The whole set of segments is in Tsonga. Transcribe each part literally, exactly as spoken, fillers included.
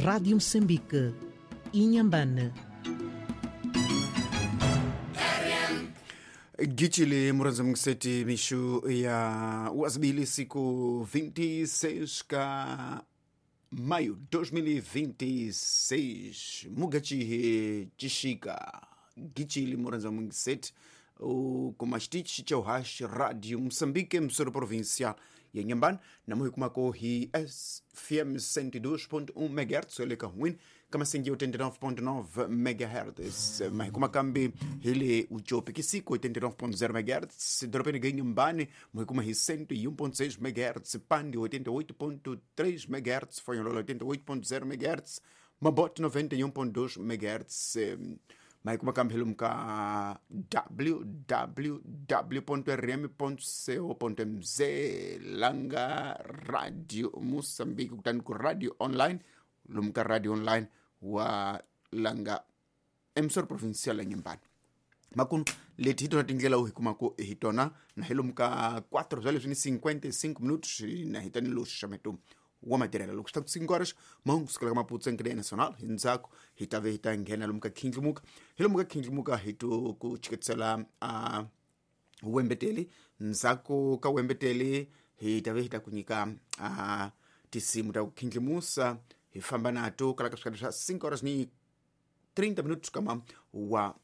Rádio Moçambique, Inhambane. Gichili muranza mngiseti mishu ya wazibili siku vinte e seis ka maio dois mil e vinte e seis mugachihe chishika Gichili muranza mngiseti o kumastichi chauhash Rádio Moçambique Msoro Provincial ya Inhambane na muhi kumako hi F M cento e dois ponto um megahertz eleka huin kama singi oitenta e nove ponto nove megahertz mahi kumakambi hili uchope kisiko oitenta e nove ponto zero megahertz doropeni ga Inhambane muhi kuma hi cento e um ponto seis megahertz Pande oitenta e oito ponto três megahertz Fonholola oitenta e oito ponto zero megahertz Mabote noventa e um ponto dois megahertz mas como ka w w w ponto r m ponto co ponto m z langa Radio Moçambique kutani ku radio online lumka radio online wa langa emsor provincial ya Inhambane makunu leti hitona tindlela u hikumako hitona na hilumka quatro horas e cinquenta e cinco minutos na hitani lo xameto wa material loko swi ta cinco horas mahungu kusukela ka Maputo encadeia nacional hi ndzhaku hi ta ve hi ta nghena lomu ka khindlimuka hi lomu ka khindlimuka hi to ku chiketisela a wembeteli ndzhaku ka wembeteli hi ta ve hi ta ku nyika a tinsimu ta ku khindlimusa hi famba nato kala ka swikati swa cinco horas ni trinta minutos kama wa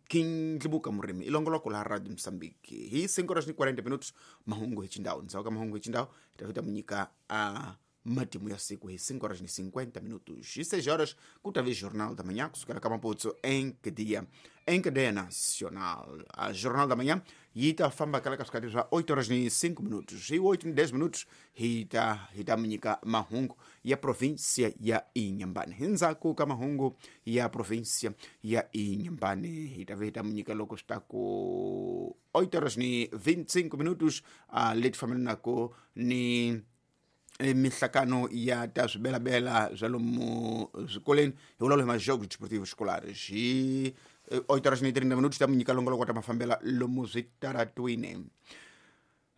khindlimuka murimi ilongoloko la Radio Moçambique hi cinco horas ni quarenta minutos mahungu hi chindhawu ndzhaku ka mahungu hi chindhawu hi ta fita munyika a matimu ya siku hi cinco horas ni cinquenta minutos hi seis horas ku ta ve Jornal da Manhã kusukela ka Maputo em cadeia em cadeia nacional a Jornal da Manhã yi ta famba kala ka swikati swa oito horas ni cinco minutos hi oito ni dez minutos hi ta hi ta munyika mahungu ya província ya Inhambane hi ndzhaku ka mahungu ya província ya Inhambane hi ta ve hi ta munyika loko swi ta ku oito horas ni vinte e cinco minutos a leti fambelanaka ni mihlakano ya ta swibelabela swa lomu swikolweni hi vulavula hi majogos desportivos escolares hi oito horas ni trinta minutos ta munyika longoloko ta mafambela lomu switaratwini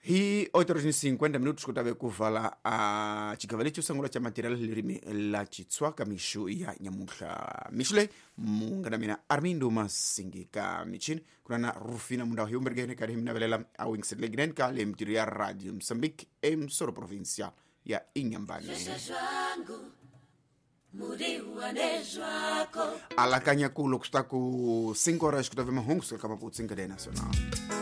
hi oito horas ni cinquenta minutos ku ta ve ku vala a xigava lexi sungula xa material lirimi la Xitsonga mixu ya nyamuntlha mixu leyi munghana mina Armindo Masingi ka michini ku na na Rufina Mundawu hi umberigene karhi hi mi navelela a wingiserile ka le mitirho ya Radio Moçambique emsoro provincial ya Inhambane alakanya ku loko swi ta ku cinco horas ku ta ve mahungu suka ka Maputo encadeia nacional.